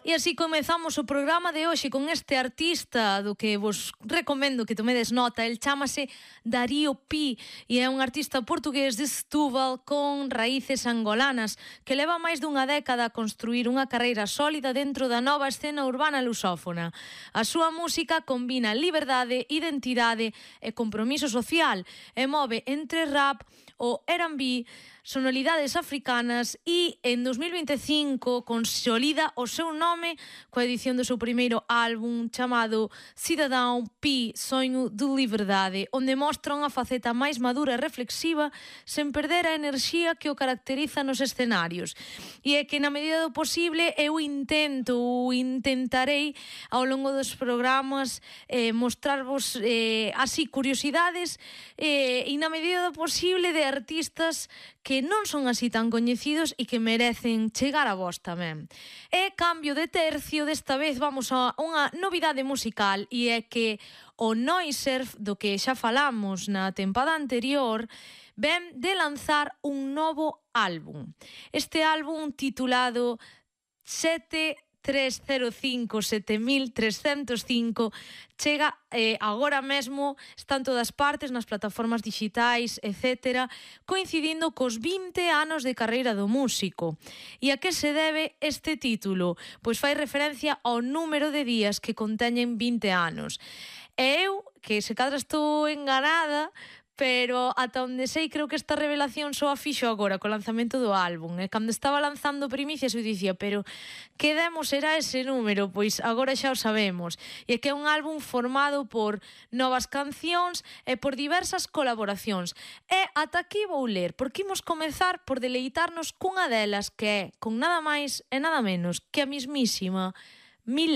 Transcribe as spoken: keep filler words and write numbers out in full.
E así comezamos o programa de hoxe con este artista do que vos recomendo que tomedes nota. El chámase Darío Pi e é un artista portugués de Setúbal con raíces angolanas que leva máis dunha década a construir unha carreira sólida dentro da nova escena urbana lusófona. A súa música combina liberdade, identidade e compromiso social e move entre rap, o R and B, sonoridades africanas e en dos mil vinte e cinco consolida o seu nome coa edición do seu primeiro álbum chamado Cidadão Pi, Sonho de Liberdade, onde mostra unha faceta máis madura e reflexiva sen perder a enerxía que o caracteriza nos escenarios. E é que na medida do posible eu intento ou intentarei ao longo dos programas eh, mostrarvos eh, así curiosidades eh, e na medida do posible de artistas que non son así tan coñecidos e que merecen chegar a vos tamén. E cambio de tercio, desta vez vamos a unha novidade musical e é que o Noiserv, do que xa falamos na tempada anterior, ven de lanzar un novo álbum. Este álbum titulado sete tres cero cinco sete mil trescentos cinco chega eh, agora mesmo, está en todas partes, nas plataformas digitais, etcétera, coincidindo cos vinte anos de carreira do músico. E a que se debe este título? Pois fai referencia ao número de días que conteñen vinte anos. E eu, que se cadra estou enganada, pero ata onde sei creo que esta revelación só a fixo agora co lanzamento do álbum, e cando estaba lanzando primicias eu dicía, pero que demo será ese número? Pois agora xa o sabemos, e é que é un álbum formado por novas cancións e por diversas colaboracións, e ata aquí vou ler, porque imos comezar por deleitarnos cunha delas que é, con nada máis e nada menos que a mismísima Miley.